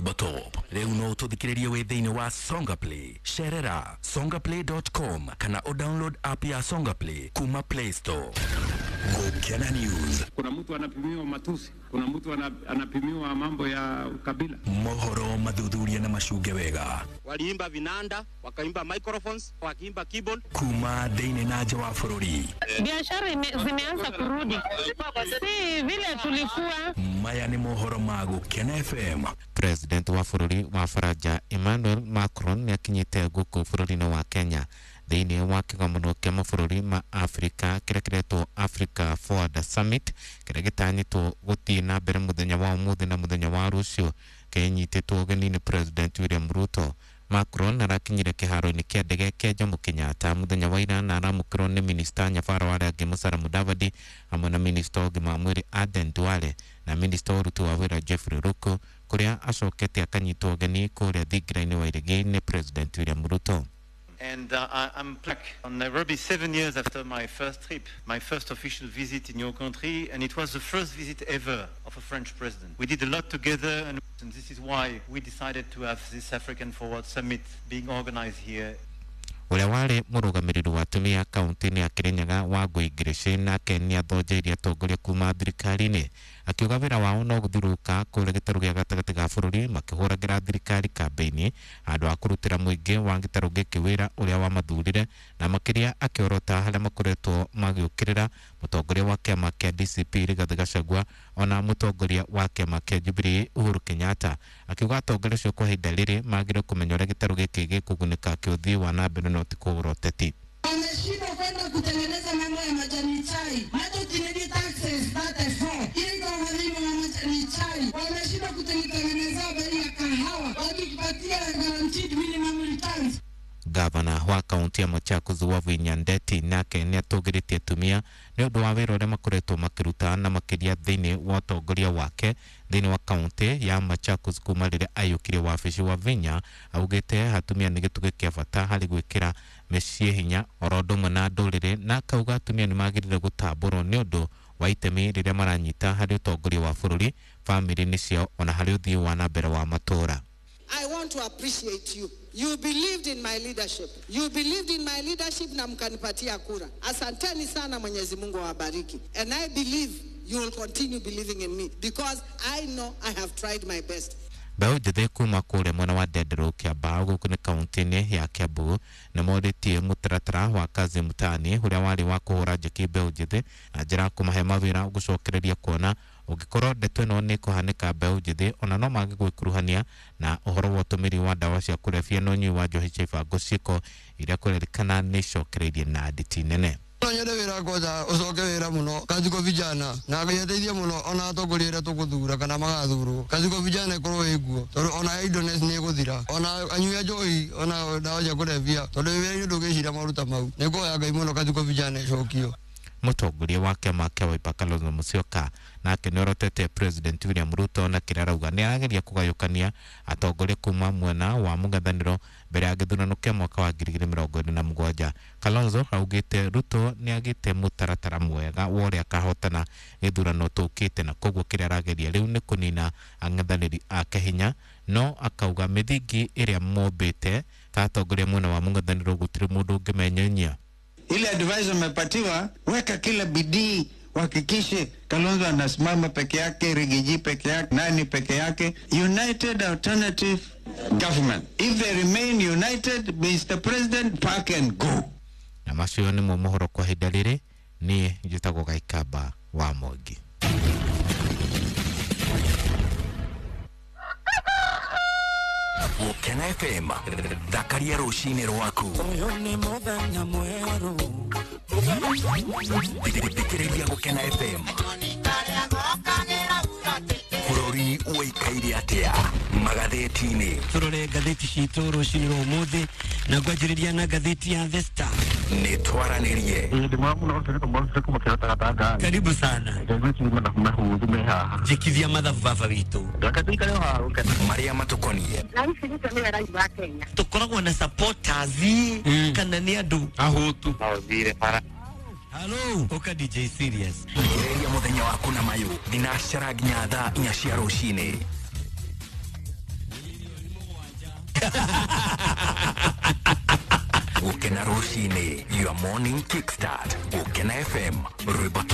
rwĩmbo top. Rĩu no ũtũthikĩrĩrie wĩ thĩinĩ wa Songa Play. Cerera songaplay.com kana ũdownload app ya Songa Play kuma Play Store. Gũkena News. Kuna mtu anapimiwa matusi, kuna mtu anapimiwa mambo ya ukabila. Mohoro mathuthuria na macunge wega. Waliimba vinanda, wakaimba microphones, wakiimba keyboard. Kuma thĩinĩ na nja wa bũrũri. Biashara zimeanza kurudi, si vile tulikuwa. Maya nĩ mohoro ma Gũkena FM. President wa bũrũri wa Faranja Emmanuel Macron nĩ akinyĩte gũkũ bũrũri-inĩ wa Kenya thĩinĩ wa kĩgomano kĩa mabũrũri ma Afrika kĩrĩa kĩretwo Africa Forward Summit kĩrĩa gĩtanyĩtwo gũthiĩ na mbere mũthenya wa ũmũthĩ na mũthenya wa rũciũ kĩnyitĩtwo ũgeni nĩ President William Ruto. Macron arakinyire kĩharo-inĩ kĩa ndege kĩa Jomo Kenyatta mũthenya wa ira na aramũkĩrwo nĩ minista Nyabaro wa arĩa angĩ Musalia Mudavadi hamwe na minista wa ũgima wa mwĩrĩ Aden Duale na minista wa ũruti wa wĩra Jeffrey Ruku, kũrĩa acokete akanyitwo ũgeni kũrĩa thingira-inĩ wa Iregi nĩ President William Ruto. And I'm back on Nairobi 7 years after my first trip, my first official visit in your country, and it was the first visit ever of a French president. We did a lot together, and this is why we decided to have this African Forward Summit being organized here. Ũrĩa warĩ mũrũgamĩrĩri wa atumia kaunti-inĩ ya Kirinyaga Wangũi Ngirici nake nĩathonjeirie atongoria kuma thirikari-inĩ akiuga wĩra wao no gũthiũrũrũka kũrĩa gĩtarũ gĩa gatagatĩ ga bũrũri makĩhũragĩra thirikari kambĩini handũ ha kũrutĩra mũingĩ wa gĩtarũ gĩkĩ wĩra ũrĩa wamathurire, na makĩria akĩorota harĩa makoretwo magĩũkĩrĩra mũtongoria wa kĩama kĩa DCP Rigathĩ Gachagua ona mũtongoria wa kĩama kĩa Jubilee Uhuru Kenyatta, akiuga atongoria acio kwa ihinda rĩrĩ magĩrĩirwo kũmenya ũrĩa gĩtarũ gĩkĩ gĩkũgunĩka kĩũthii wa na mbere no ti kũgũra ũteti. Wameshindwa kwenda kutengeneza mambo ya majani chai, macho kinidi taxes 34 ili kwa walimu wa majani chai. Wameshindwa kutengeneza bei ya kahawa, wakitupatia guaranteed minimum returns. Gavana wa kaunti ya Machakos Wavinya Ndeti nake nĩatũgĩrĩtie atumia nĩ ũndũ wa wĩra ũrĩa makoretwo makĩruta na makĩria thĩinĩ wa ũtongoria wake thĩinĩ wa kaunti ya Machakos kuma rĩrĩa aiyũkirie wabici. Wavinya augĩte atumia nĩ gĩtugĩ kĩa bata harĩ gwĩkĩra mĩciĩ hinya oro ũndũ ũmwe na ndũrĩrĩ, na akauga atumia nĩ magĩrĩire gũtambũrwo nĩ ũndũ wa itemi rĩrĩa maranyita harĩ ũtongoria wa bũrũri, bamĩrĩ-inĩ ciao ona harĩ ũthii wa na mbere wa matũũra. I want to appreciate you. You believed in my leadership. You believed in my leadership na mkanipatia kura. Asanteni sana, Mwenyezi Mungu awabariki. And I believe you will continue believing in me because I know I have tried my best. Mbeũ njĩthĩ kuma kũrĩa mwena wa Ndenderũ Kĩambaa gũkũ nĩ kaunti-inĩ ya Kiambu nĩ morĩtie mũtaratara wa kazi mtaani ũrĩa warĩ wa kũhũra njeki mbeũ njĩthĩ na njĩra ya kũmahe mawĩra gũcokereria kuona ũngĩkorwo ndeto ĩno nĩ ĩkũhanĩka mbeũ njĩthĩ ona no mage gwĩkuruhania na ũhoro wa ũtũmĩri wa ndawa cia kũrebia na ũnyui wa njohi cia ibango ciĩko iria kũrerĩkana nĩ icokereirie na nditi nene. No nyende wĩra kwanja ũcoke wĩra mũno kazi kwa vijana na Ngai ateithie mũno ona atongoria arĩa tũgũthura kana magathurwo kazi kwa vijana ĩkorwo ĩkuo tondũ ona idleness nĩ ĩgũthira ona anyui a njohi ona ndawa cia kũrebia tondũ wĩra-inĩ ndũngĩciria maũndũ mau nĩ ngũhoya Ngai mũno kazi kwa vijana ĩcokio. Mũtongoria wa kĩama kĩa Wiper Kalonzo Musyoka nake nĩorotete President William Ruto na kĩrĩa arauga nĩ arageria kũgayũkania atongoria kuma mwena wa mũng'ethanĩro mbere ya gĩthurano kĩa mwaka wa 2027. Kalonzo augĩte Ruto nĩ agĩte mũtaratara mwega wa ũrĩa akahotana gĩthurano tũkĩte na koguo kĩrĩa arageria rĩu nĩ kũnina ang'ethanĩri ake hinya, no akauga mĩthingi ĩrĩa mombĩte ta atongoria mwena wa mũng'ethanĩro gũtirĩ mũndũ ũngĩmenyenyia. Ile advice umepatiwa, weka kila bidii, uhakikishe Kalonzo anasimama peke yake, Rigiji peke yake, nani peke yake. United Alternative Government. If they remain united, Mr. President, pack and go. Na macio nĩmo mohoro kwa ihinda rĩrĩ, niĩ njĩtagwo Gaikamba wa Mwangi. Gũkena FM, thakaria rũcinĩ rwaku. Ũyũ nĩ mũthenya mwerũ. Thikĩrĩria Gũkena FM. Bũrũri ũikaire atĩa magathĩti-inĩ? Tũrore ngathĩti citũ rũcinĩ rwa ũmũthĩ na ngwanjĩrĩria na ngathĩti ya The Star. Nĩ twaranĩrie. Karibu sana. Njĩkithia mathabu baba witũ. Marĩa matũkoniĩ. Tũkoragwo na supporters kana nĩ andũ ahũtu. Hello, Oka DJ Serious. Gereria mũthenya waku na mayũ thinacara nginya thaa 4 cia rũcinĩ. Gukena rucini, your morning kickstart. Gukena FM, rwimbo.